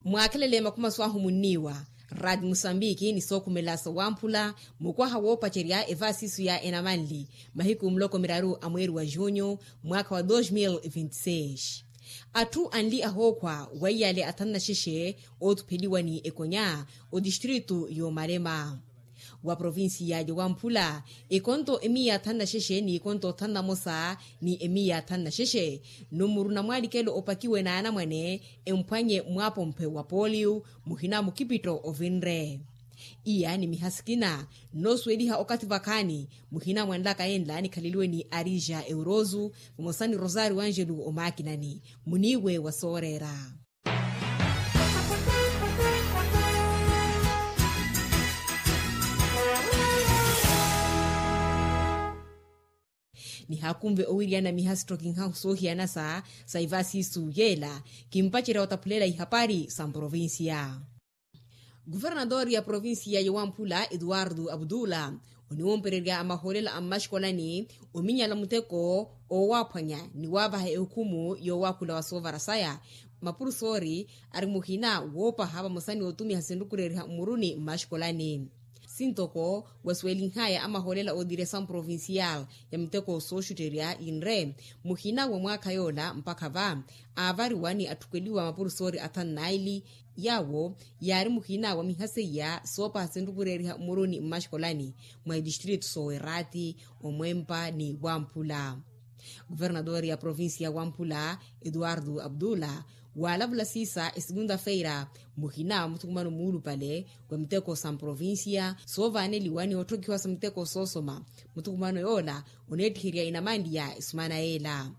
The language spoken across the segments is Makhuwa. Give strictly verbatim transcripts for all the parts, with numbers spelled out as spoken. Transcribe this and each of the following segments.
Mwaakhelele makhuma swaahu munniiwa. Rati musambiki ni sookhumela sowamphula mukwaha woopacerya evaasisu ya enamanli mahiku muloko miraru a mweeri wa junyu mwaakha wa dos mil vinti seis. Atthu anli ahookhwa weiyale athanna xexe oothupheliwa ni ekonya otistritu y'omalema wa provincia ya wamphula. Ekonto emiya athanna xexe ni ekonto othanna mosa ni emiya athanna xexe numuru na mwalikelo opakiwe na anamwane emphwanye mwapomphe wa polio muhina mukipitto ovinre. Iya ni miha sikina nnoosuweliha okathi vakhaani muhina mwanlaka enla nikhaleliwe ni arija eurozu vamosa ni rosario angelu omaakinani muniiwe wa sooreera. Nihaakunve owiriyana miha sittokinhahu soohiyana sa sa ivaasisu yeela kimpacerya otaphulela ihapari sa mprovincia. Kuvernatori ya provincia ya wamphula etuwartu aputula oniwompererya amahoolela a mmaxikolani ominyala muteko owaaphwanya ni waavaha ehukhumu yoowakhula wa soovara saya. Mapursoori ari muhina woopaha vamosa ni otumiha sinrukureriha mmuruni mmaxikolani sintoko wasuwelinhaya amahoolela ootiresa mprovincial ya miteko sooxutterya inre muhina wa mwaakha yoola mpakha va aavariwa ni atthukweliwa mapursoori athanu naili. Yaawo yaari muhina wa miha seiya soopaha sinrukureriha mmuruni mmaxikolani mwa itistritu soowerati omwempa ni wamphula. Kuvernatori ya provincia ya wamphula etuwartu aputula waalavula siisa esikunda feira muhina wa muthukumano muulupale wa miteko sa mprovincia soovaneliwa ni otthokhiwa sa miteko soosoma muthukumano yoola oneettiherya inamanli ya esumana yeela.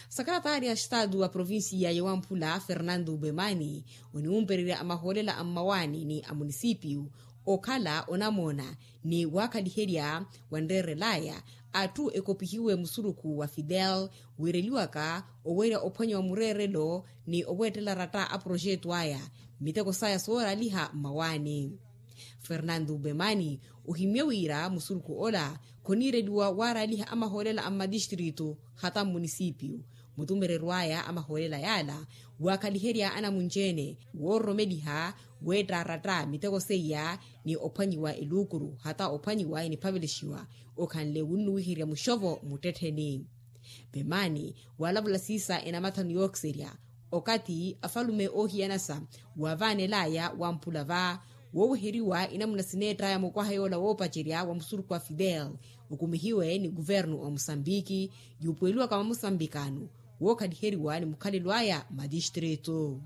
Sakaratari ya xitaatu wa provincia ya wamphula fernando bemani oniwumpererya amahoolela a mmawaani ni a munisipiyu okhala onamoona ni waakhaliherya wanreerelaya atthu ekopihiwe musurukhu wa fidel wiireliwaka owerya ophwanyiwa mureerelo ni oweettela ratta a proxeto aya miteko saya sooraliha mmawaani. Fernando bemani ohimye wira musurukhu ola khoniireliwa waaraliha amahoolela a mmatistritu hata mmunisipiyu mutumererwaya amahoolela yaala waakhaliherya anamunci-ene woororomeliha weettaratta miteko seiya ni ophwanyiwa eluukuru hata ophwanyiwa eniphavelexiwa okhanle wunnuwiherya muxovo muttettheni. Pemaani waalavula siisa enamathanu yookiserya okathi afalume oohiyanasa waavaanelaya wamphula va wooweheriwa inamuna sineettaya mukwaha yoola woopacerya wa musurukhu wa fidel okumihiwe ni kuvernu wa musambiki yuupuweliwaka mwa musambikano wookhaliheriwa ni mukhalelo aya matistritu.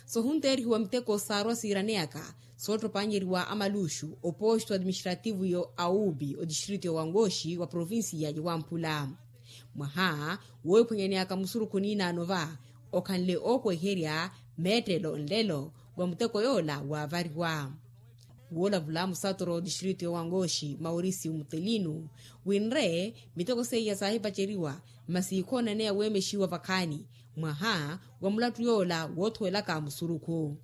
Sohunteerihiwa miteko saarwa siiraneyaka soottopanyeriwa amaluxu oposto administrativo yo aubi otistritu yo wangoxi wa provincia ya wamphula mwaha woohiphwanyaneyaka musurukhu niinaano va okhanle ookweherya meettelo nlelo wa muteko yoola waavariwa. Woolavula musatoro otistritu yo wangoxi mauricio mutelino winre miteko seiya saahipaceriwa masi khoonaneya weemexiwa vakhaani mwaha wa mulattu yoola woothuwelaka musurukhu.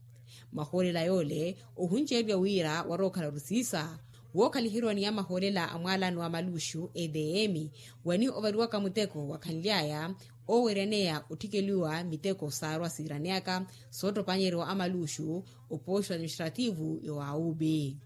Mahoolela yoole ohunceeriwa wira warookhala orisiisa wookhaliheriwa ni amahoolela a mwaalano wa maluxu edm wani ovariwaka muteko wakhanly'aya ooweryaneya otthikeliwa miteko saarwa siiraneyaka soottopanyeriwa amaluxu oposto administrativo yo aubi.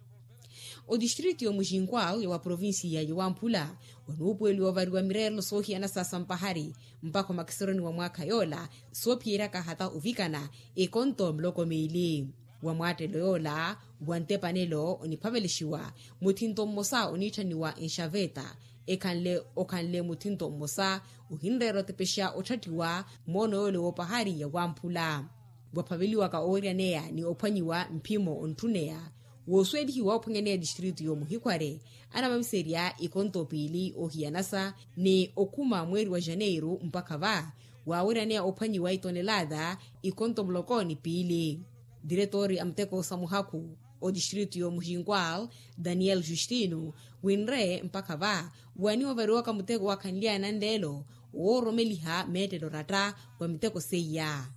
Otistritu yo muxinkwal yo wa provincia yo wamphula wanuupuweliwa ovariwa mireerelo soohiyana sa sampahari mpakha omakiseroni wa mwaakha yoola soophiyeryaka hata ovikana ekonto muloko miili wa mwaattelo yoola wa ntepanelo oniphavelexiwa muthinto mmosa oniitthaniwa enxaveta ekhanle okhanle muthinto mmosa ohinreera otepexa otthattiwa moono yoole woopahari ya wamphula waphaveliwaka oweryaneya ni ophwanyiwa mphimo ontthuneya woosuwelihiwa ophwanyaneya tistritu yo muhikhware anavamiserya ikonto piili ohiyanasa ni okhuma mweeri wa janeiru mpakha va waaweryaneya ophwanyiwa itonelata ikonto muloko ni piili. Diretori a muteko sa muhakhu otistritu yo muxinkwal daniel justino winre mpakha va wani ovariwaka muteko wakhanly'aya nanleelo woororomeliha meettelo ratta wa miteko seiya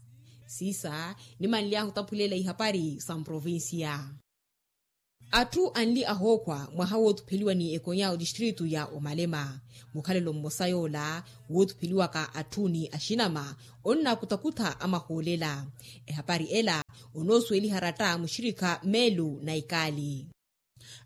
siisa nimanly'ahu otaphulela ihapari sa mprovincia. Atthu anli ahookhwa mwaha woothupheliwa ni ekonya otistritu ya omalema mukhalelo mmosa yoola woothupheliwaka atthu ni axinama onnaakutakutha amahoolela ehapari ela onoosuweliha ratta muxirikha meelu na ikaali.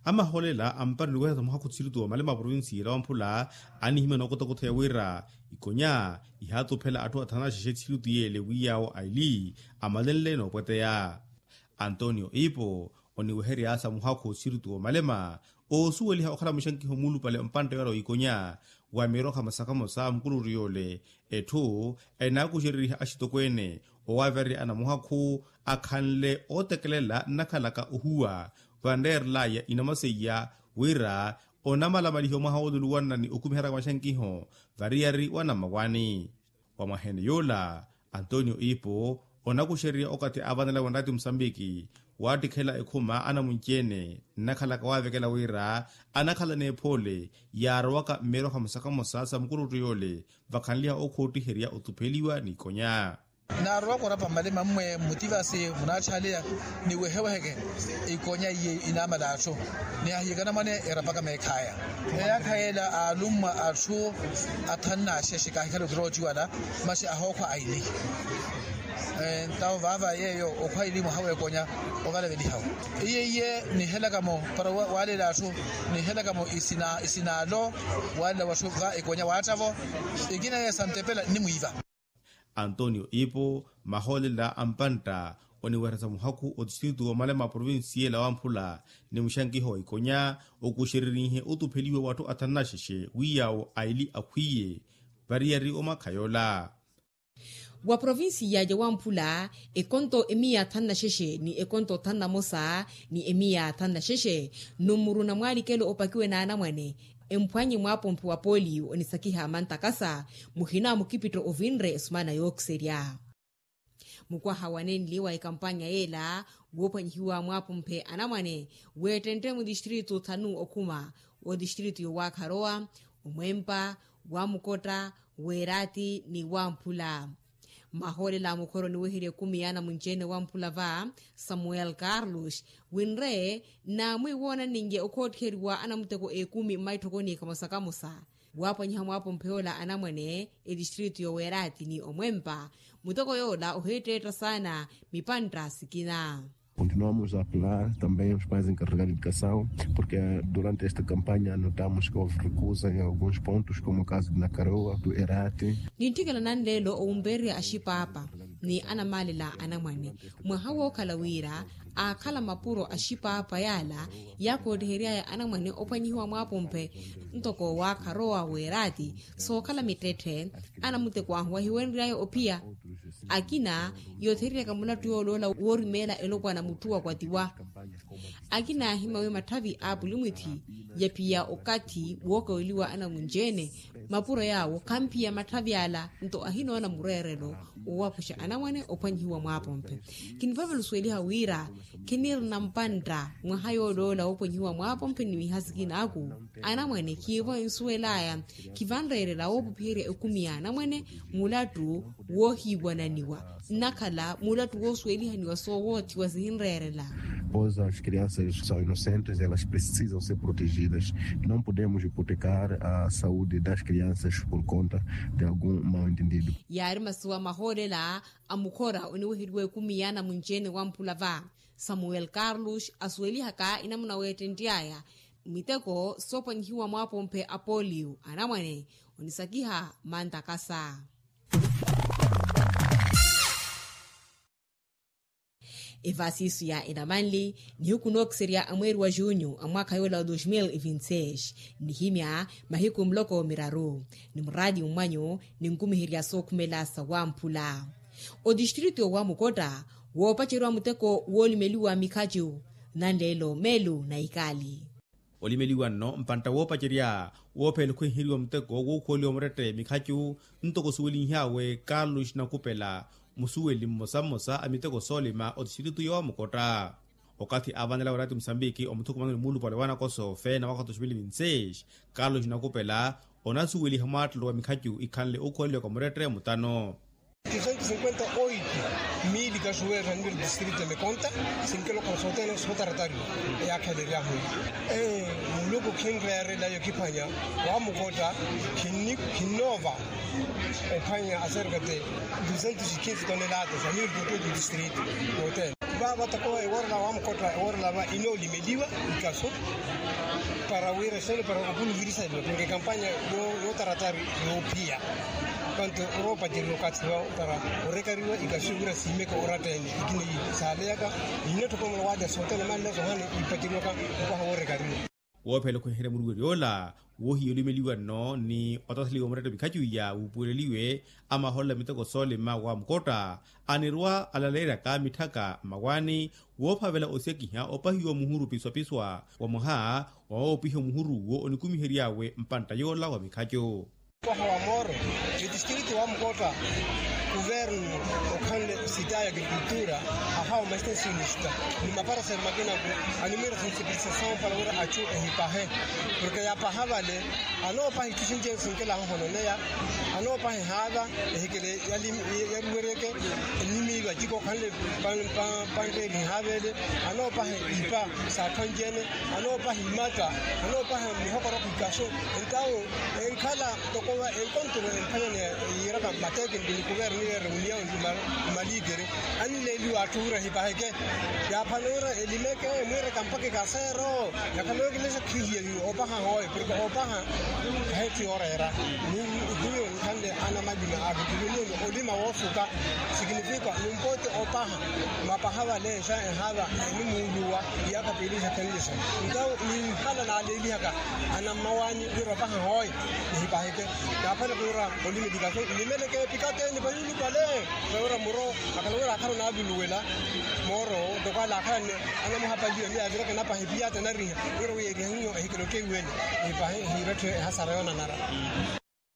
Amahoolela ampari niweheresa muhakhu tthiritu wa malema a provincia ela wamphula anihimya nookotakotha ya wira ikonya ihaatuphela atthu athanu na xexe tthiritu yeele wi yaawo aili amalenle noopweteya. Antonio ipo oniweherya sa muhakhu tthiritu wa malema oosuweliha okhala muxankiho muulupale mpantta yoora w'ikonya wa miroha masakamosa mukuluri yoole. Etthu enaakuxereriha axitokweene owaavererya anamuhakhu akhanle ootekelela nnakhalaka ohuwa vanreerelaya inamaseiya wira onamalamalihiwa mwaha wooluluwanna ni okumiheraka maxankiho variyari wa namawani. Wa mwaheene yoola antonio ipo onakuxererya okathi aavanela wa nraati musambiki waattikhela ekhuma anamunci-ene nnakhalaka waavekela wira anakhala n'ephoole yaarowaka mmiroha musakamosa sa mukuluttu yoole vakhanliha okhoottiheriya otupheliwa n'ikonya. Naarowaka orapa mmalima mmwe mmutivasi munaatthaaleya niweheweheke ikonya iye inaamala atthu nihahiyekana mwane erapaka meekhaya. Eyaakha yeela aalummwa atthu athanu na axexe kaahikhala okirowa ociwala masi ahookhwa aili. Ntawo vaava yeeyo okhwa aili mwaha w'ekonya ovalavelihawo iye iye nihelakamo para waaleela atthu nihelakamo isinaalo. Waaleela watthu va ekonya waattavo ikina yeeyo santepela nnimwiiva. Antonio ipo mahoolela a mpantta oniweresa muhakhu otistritu wa malema a provincia ela wamphula ni muxankiho wa ikonya okuxererihe otupheliwa w'atthu athanu na xexe wi yaawo aili akhwiye variyari omakha yoola. Wa provincia ya wamphula ekonto emiya athanu na xexe ni ekonto athanu na mosa ni emiya athanu na xexe numuru na mwaalikelo opakiwe n'anamwane emphwanye mwaapomphe wa polio onisakiha mantakasa muhina mukipitto ovinre esumana yookiserya. Mukwaha wanenli wa ekampanya yeela woophwanyihiwa mwaapomphe anamwane weettentte mutistritu thanu okhuma otistritu yowaakharowa omwempa wamukotta weeraati ni wamphula. Mahoolela a mukhoro oniweherya ekumi ya anamunci-ene wamphula va samuel carlos winre naamwi woonaninye okhootthiheriwa anamuteko ekumi mmaitthokoni kamosa kamosa waaphwanyiha mwaapomphe yoola anamwane etistritu yoweeraati ni omwempa muteko yoola ohiitteetta saana mipantta sikina. Continuamos a apelar também os pais encarregados de educação porque durante esta campanha notamos que houve recusa em alguns pontos como o caso de nakaroa do erati. Nintthikela nanleelo owumpererya axipaapa ni anamaalela anamwane mwaha wookhala wira aakhala mapuro axipaapa yaala yaakoottiheriaya anamwane ophwanyihiwa mwaapomphe ntoko waakharowa weeraati sookhala mittetthe anamuteko ahu wahiwenry'aya ophiya akina yoothereryaka mulattu yooloola woorimeela elopwana mutthu wakwatiwa akina yaahimya wi matthavi a apulimwithi yaphiya okathi wookaweliwa anamunci-ene mapuro yaawo khamphiya matthavi ala nto ahinoona mureerelo owapuxa anamwane ophwanyihiwa mwaapomphe kinivavela osuweliha wira khinirina mpantta mwaha yooloola woophwanyihiwa mwaapomphe ni miha sikinaaku anamwane khiivo ensuwel'aya khivanreerela woopuphiherya ekumi ya anamwane mulattu woohiiwananiwa nnakhala mulattu woosuwelihaniwa soowoothiwa sihinreerela. Pois as crianças são inocentes elas precisam ser protegidas. Não podemos hipotecar a saúde das crianças por conta de algum mal entendido. Yaari masuwa mahoolela a mukhora oniweheriwa ekumi ya anamunci-ene wamphula va samuel carlos asuwelihaka enamuna weettentt'aya miteko soophwanyihiwa mwaapomphe a polio anamwane onisakiha mantakasa. Evaasiisu ya enamanli nihiku nookiserya a mweeri wa junyu a mwaakha yoola wa dos mil e vinti seis nihimya mahiku muloko miraru ni muraati mmwanyu ninkumiherya sookhumela sawamphula otistritu wa mukotta woopaceriwa muteko woolimeliwa mikhacu nanleelo meelu na ikaali. Olimeliwa nno mpantta woopacerya woopheela okhwenheriwa muteko wookhuweliwa murette mikhacu ntoko osuwelinhyawe carlos nakupela musuweli mmosa mmosa a miteko soolima otistritu yoomukotta okathi aavanela waraati musambiki omuthukumano ni muulupale wa nakoso feena mwaka wa dos mil vinti seis carlos nakupela onasuweliha mwaattelo wa mikhacu ikhanle ookhuweliwaka murette mutano. Duzentos cinquenta oito mili kaxuweerya nniru distrito ya mikonta sinkelo khasootene sootaratari eyaakheleryahu. Muluku khinreerela yokiphwanya wamukotta khinnoova ophwanya aserkate duzentos e quinze tonelatas amiru tototo distrito yootene. Vata ko ewoorela wa mukotta ewoorela va inoolimeliwa ikaso para wira esene para opuluvirisa ilo porke ekampanya yootaratari yoophiya. Panto oroopacerya okathi vawo para orekariwa ikaso wira siimeke oratta ene ikini saaleyaka. Inattokomela waalya sootene manlaso hano ipacerwaka opaha woorekariwa. Woophela okhuherya muruweri ola woohiya olimeliwa nno ni otathaliwa muretta mikhacu iya wuupuweleliwe amahoolela miteko soolima wa mukotta anirwa alaleeryaka mitthaka mmawaani woophavela osekiha opahiwa muhuru piswapiswa wa mwaha wa woopiha omuhuru wo onikumihery'awe mpantta yoola wa mikhacu. Mwaha wa mooro etistritu wa mukotta kuvernu okhanle sita ya agrikultura ahawa mastensionista ni maparaseri makinaku animwira sensipilisasyon para wira achu ehipahe porke yapaha vale anoopaha itthu sinci sinkela ahohononeya anoopaha ehaava ehikele yaruweryeke ennimiiva ciko okhanle panteeli ehaava ele anoopaha ipa saatthu anci-ene anoopaha imatta anoopaha mihokoroko ikaso entawo enkhala tokowa enkonturo emphanyani yiiraka mmateekeni ni kuvernu ni reuniyawu ni maliikeri annileeliwa atthu wira ehipaheke yaaphana wira elimeke emwiireka mpakha ikaseero yakhala ookilesha khihiya oopaha hooyo porke oopaha khahetthu yooreera ni hiyo nkhanle anamalima akitulumuni olima woosuka sikinifika numpooti opaha mapaha valeesha ehaava enimuuluwa iyaakha piili sathenlisa ntawo ninhala naaleelihaka anammawaani wira opaha hooyo nihipaheke naaphana kuura olimeli kaso nnimeleke epikate nipayulupale vawira muro akhala wira akhala onaavuluwela mooro ntoko ale akhala anamuhapaliwa ni yaaviraka enapaha epiyata enariha wira wi erihanyiho ehikela otteiwene ehipahe ehiiretthe ehasara yoonanara.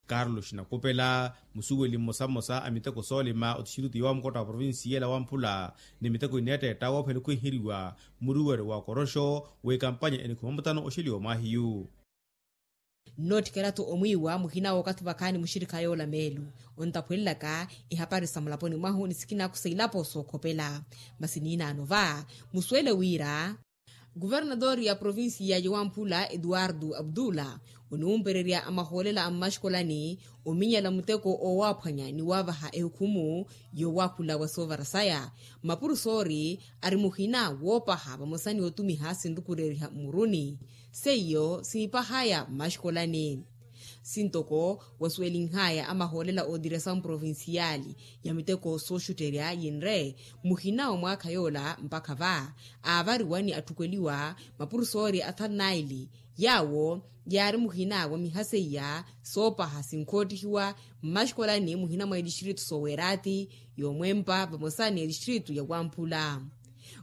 Carlos nakupela musuweli mmosa mmosa a miteko soolima otixirutu yoowa mukotta wa provincia ela wamphula ni miteko ineetteetta woophela okhwiheriwa muruweri wa koroxo w'ekampanya enikhuma mutano oxeliwa mwaahiyu. Nnootthikela-tho omwiiwa muhina w'okathi vakhaani muxirikha yoola meelu ontaphwelelaka ehapari sa mulaponi mwahu ni sikinaku sa ilapo sookhopela masi niinaano va musuwele wira kuvernatori ya provincia ya wamphula eduwardu abdula oniwumpererya amahoolela a mmaxikolani ominyala muteko oowaaphwanya ni waavaha ehukhumu yoowakhula wa soovara saya mapurusoori ari muhina woopaha vamosa ni otumiha sinrukureriha mmuruni seiyo sinipahaya mmaxikolani sintoko wasuwelinhaya amahoolela oodiresa mprovinciali ya miteko sooxutterya yinre muhina wa mwaakha yoola mpakha va aavariwa ni atthukweliwa mapurusoori athanu naili yaawo yaari muhina wa miha seiya soopaha sinkhoottihiwa mmaxikolani muhina mwa etistritu soowerati yoomwempa vamosa ni etistritu ya wamphula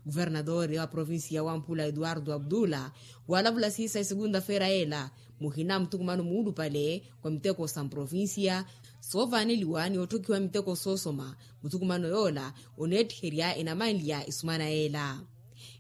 kuvernatori wa provincia ya wamphula eduwardu abdula waalavula siisa esegunta-feera yeela muhina muthukumano muulupale wa miteko sa mprovincia soovaaneliwa ni otthokhiwa miteko soosoma muthukumano yoola oneettiherya enamanlya isumana yeela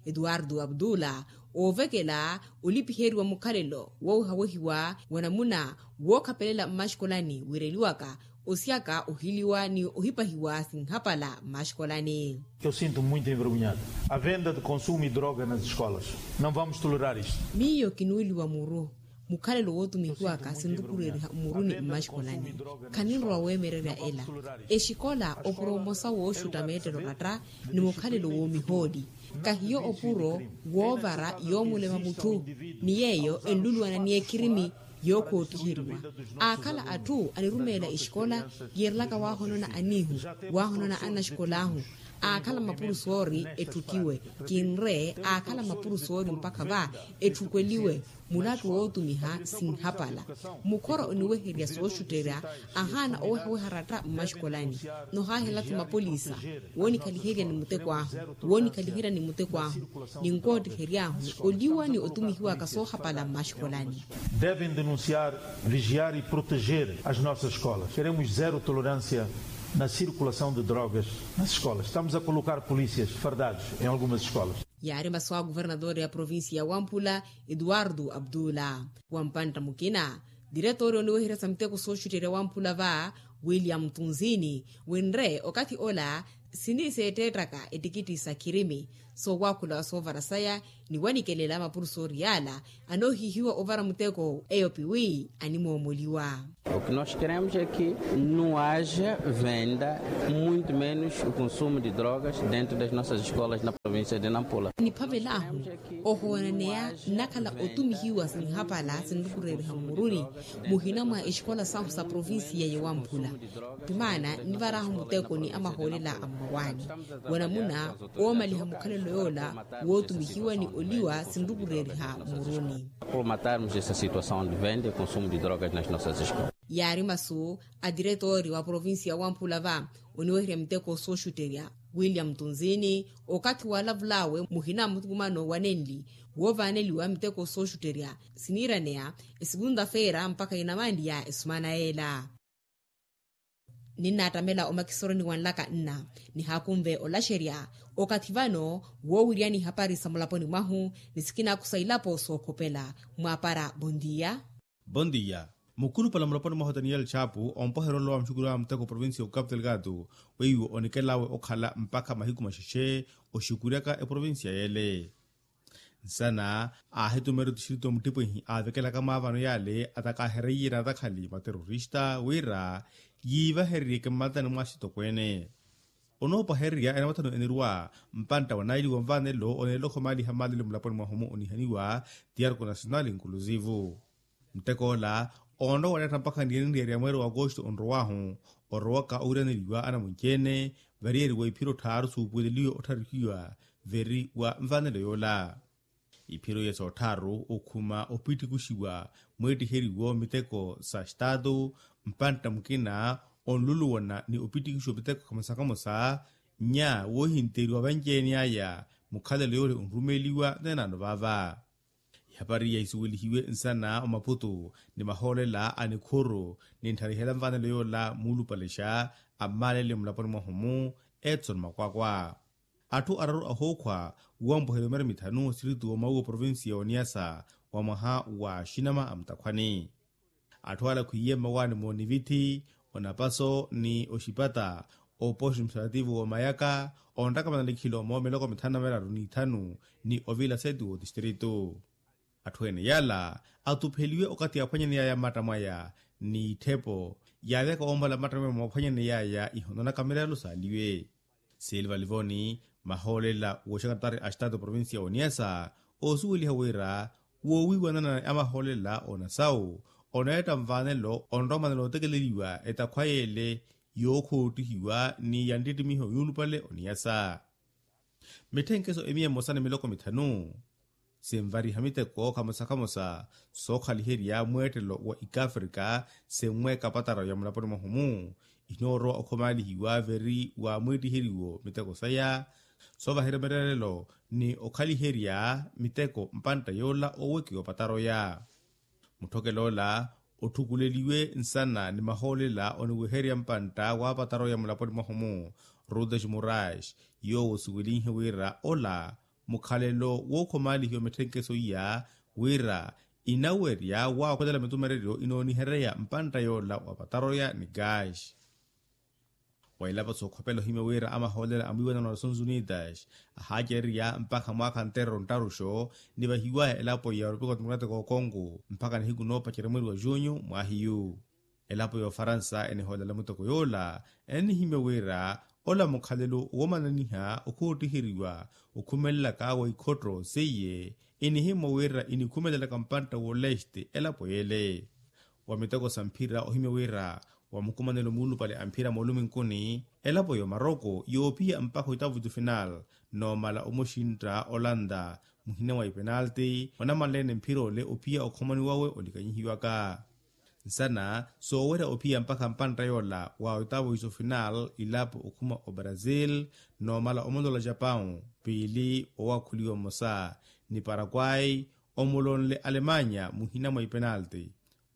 eduwardu abdula oovekela olipiheriwa mukhalelo woowehawehiwa wa namuna wookhapelela mmaxikolani wiireliwaka osiyaka ohiliwa ni ohipahiwa sinhapala mmaxikolani. Eu sinto muito envergonhado a venda de consumo e droga nas escolas. Não vamos tolerar isto. Miyo kinuuliwa muru mukhalelo wootumihiwaka sinrukureeriha mmuruni mmaxikolani khaninrowa weemererya ela exikola opuro mmosa wooxutta meettelo ratta ni mukhalelo woomihooli kahiyo opuro woovara yoomulema mutthu ni yeeyo enluluwana ni ekirimi yookhootiheriwa aakhala atthu anirumeela exikola yiirelaka waahonona aniihu waahonona annaxikolahu aakhala mapurusoori etthukiwe kinre aakhala mapurusoori mpakha va etthukweliwe mulapi wootumiha sinhapala mukhora oniweherya sooxutterya ahaana owehaweha ratta mmaxikolani nohaahela-tho mapolisa woonikhaliherya ni muteko ahu woonikhaliherya ni muteko ahu ninkoottihery'ahu oliwa ni otumihiwaka soohapala mmaxikolani. Devem denunciar, vigiar e proteger as nossas escolas. Queremos zero tolerância na circulação de drogas nas escolas. Estamos a colocar polícias fardados em algumas escolas. Yaari masu a kuvernadori ya provincia ya wamphula eduwardu abdula wampantta mukina diretori oniweherya sa miteko sooxutterya wamphula va william tunzini winre okathi ola Siniseetteettaka ettikitti sa khirimi soowakhula wa soovara saya, ni wanikelela mapurusoori yaala anoohihiwa ovara muteko eyo piwi animoomoliwa. O que nós queremos é que não haja venda, muito menos o consumo de drogas dentro das nossas escolas na província de Nampula. Niphavel'ahu ohoonaneya nnakhala otumihiwa sinhapala sinrukureeriha mmuruni muhina mwa exikola sahu sa provincia ya wamphula. Timaana nivar'ahu muteko ni amahoolela a mmawaani wanamuna oomaliha mukhalelo yoola wootumihiwa ni oliwa sinrukureeriha mmuruni. Por matarmos essa situação de venda e consumo de drogas nas nossas escolas. Yaari masu a tiretori wa provincia ya wamphula va oniweherya miteko sooxutterya william tunzini okathi waalavul'awe muhina muthukumano wa nenli woovaaneliwa miteko sooxutterya siniiraneya esukunta-feera mpakha inamanliya esumana yeela. Ninnaattamela omakisoroni wa nlaka nna nihaakunve olaxerya okathi vano woowiryani ihapari sa mulaponi mwahu ni sikinaku sa ilapo sookhopela mwaapara bondiya. Bondiya. Mukhulupale mulaponi mwahu taniyeli chapu ompweherya olowa muxukurya wa muteko provincia ya okapu telgado weiwo onikel'awe okhala mpakha mahiku maxexe oxukuryaka eprovincia yeele. Nsana aahitumeerya otixirito muttipwihi aavekelaka maavano yaale atakaahereiye n'atakhali materorista wira yiivahereryeke mmatani mwa asitokweene. Onoopwahererya enamathano enirwa mpantta wa naili wa nvaanelo oneelela okhomaaliha maalelo mulaponi mwahu-mu onihaniwa ti arko nasionali nkuluzivu. Muttek'ola onrowa waneetta mpakha niyenenriyerya mweeri wa akosto onrow'ahu orowaka owiraneliwa anamunci-ene variyeriwa iphiro tthaaru suupuweleliwe ottharuhiwa veri wa nvaanelo yoola. Iphiro iya soottharu okhuma opittikuxiwa mweettiheriwo miteko sa staatu mpantta mukina onluluwana ni opittikuxiwa miteko khamosa-khamosa nya woohinteriwa vanci-ene aya mukhalelo yoole onrumeeliwa nenaano vaava. Ihapari iya isuwelihiwe nsana omaputu ni mahoolela a nikhuru nintthariheela nvaanelo yoola muulupalexa a mmaalele mulaponi mwahu-mu etson makwakwa. Atthu araru ahookhwa woompweherya omeera mithanu osiritu womawuwa provincia ya oniyasa wa mwaha wa xinama a mutakhwani. Atthu ala khwiiye mmawaani moonivitthi onapaso ni oxipata oposto administrativo wa mayaka onttakamana likhilo moomiloko mithanu na miraru n'ithanu ni ovila seti wotistritu. Atthu ene yaala atupheliwe okathi yaaphwanyani yaya mmatta mwaya ni itthepo yaalyaka woompala mmatta mwaya moophwanyani yaya ihononaka mirelo saaliwe. Silva livoni mahoolela wooxakatari a staatu provincia ya oniyasa oosuweliha wira woowiiwanana a mahoolela onasawu oneetta nvaanelo onrowa manelo otekeleliwa etakhwa yeele yookhottihiwa ni yanttittimiho yuulupale oniyasa. Mitthenkeso emiya mmosa ni miloko mithanu sinvariha miteko khamosa-khamosa sookhaliherya mweettelo wa ikafrika sinweeka pataro ya mulaponi mwahu-mu inoorowa okhomaalihiwa veri wa mwiittiheriwo miteko saya soovaherya mireerelo ni okhaliherya miteko mpantta yoola oowekiwa opataroya. Mutthokel'ola otthukuleliwe nsana ni mahoolela oniweherya mpantta waapataroya mulaponi mwahu-mu rudes murais yoowo osuwelinhe wira ola mukhalelo wookhomaalihiwa mitthenkeso iya wira inawerya waakhwelela mitumereryo inoonihereya mpantta yoola wa pataroya ni gaaxi. Wa ilapa sookhopela ohimya wira amahoolela a mwiiwanano wa nations unidas ahaacererya mpakha mwaakha nterero nttaruxo nivahiwaya elapo ya repupulika democratika okongo mpakha nihiku noopacerya mweeri wa junyu mwaahiyu. Elapo ya ofaransa enihoolela muteko yoola enihimya wira ola mukhalelo woomananiha okhoottiheriwa okhumelelaka wa ikhotto seiye enihimya wira inikhumelelaka mpantta woleste elapo yeele. Wa miteko sa mphira ohimya wira wa mukumanelo muulupale a mphira mooluminkuni elapo ya omaroko yoophiya mpakha oitavutu final noomala omuxintta olanta muhina mwa ipenalti onamanle-ene mphira ole ophiya okhomani wawe olikanyihiwaka. Nsana soowerya ophiya mpakha mpantta yoola wa oitavutu final ilapo okhuma obrasil noomala omolola japawu piili owakhuliwa mmosa ni parakwai omulonle alemanya muhina mwa ipenalti.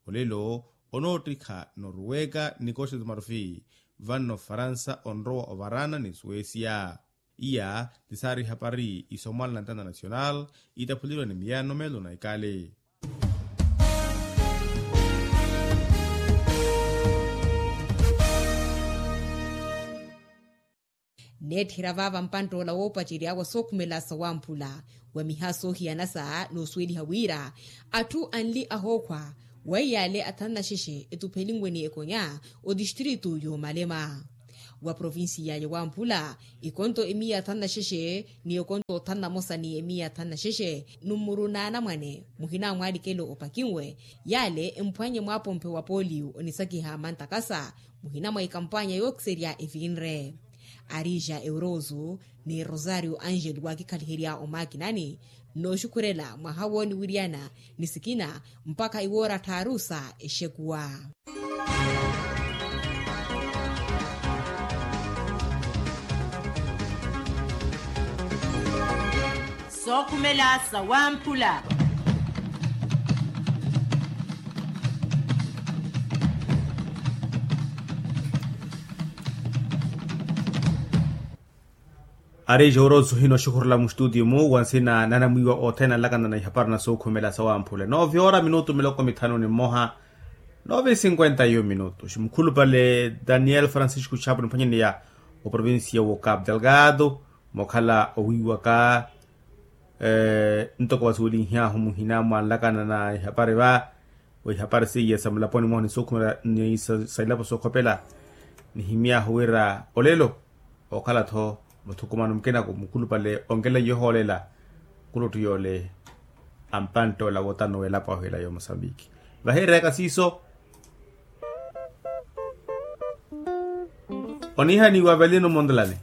Olelo onoottikha noruweka ni costa de marfi vanno faransa onrowa ovarana ni suwesia. Iya ti saari ihapari isomwala na ntanta nasional itaphuleriwa ni miyano meelo na ikali. Neetthera vaava mpanttoola woopacerya wa sookhumela sawamphula wa miha soohiyana sa noosuweliha wira atthu anli ahookhwa wa iyaale athanu na xexe etuphelinwe ni ekonya otistritu y'omalema wa provincia ya wamphula. Ekonto emiya athanu na xexe ni ekonto othanu na mosa ni emiya athanu na xexe nummuru na anamwane muhina mwa alikelo opakinwe yaale emphwanye mwaapompe wa polio onisakiha mantakasa muhina mwa ikampwanya yookiserya evinre. Arija eurozu ni rosario angel waakikhaliherya omaakinani nnooxukhurela mwaha wooniwiryana ni sikina mpakha iwoora tthaaru sa exekuwa. Sookhumela sawamphula. Ari jouro suhina oxukhurela mustutiyo-mu wa nsina nanamwiiwa othene anlakana na ihapari na sookhumela sawamphula noove ora minutu miloko mithanu ni mmoha. Noove sinkwenta iyo minutu mukhulupale daniel francisco chapo niphwanyaneya oprovincia wo capo delgado mookhala owiiwaka ntoko vasuwelinhyahu muhina mwanlakana na ihapari va. Wa ihapari seiya sa mulaponi mwahu ni sookhumela ni sa ilapo sookhopela nihimyaahu wira olelo ookhala-tho muthukumano mukina-ku mukhulupale onkeleiye ohoolela. Kuluttu yoole ampanttoola wotano w'elapo ahu ela y'omosambiki vahireryaka siiso. Oniihaniwa avelino mondelani.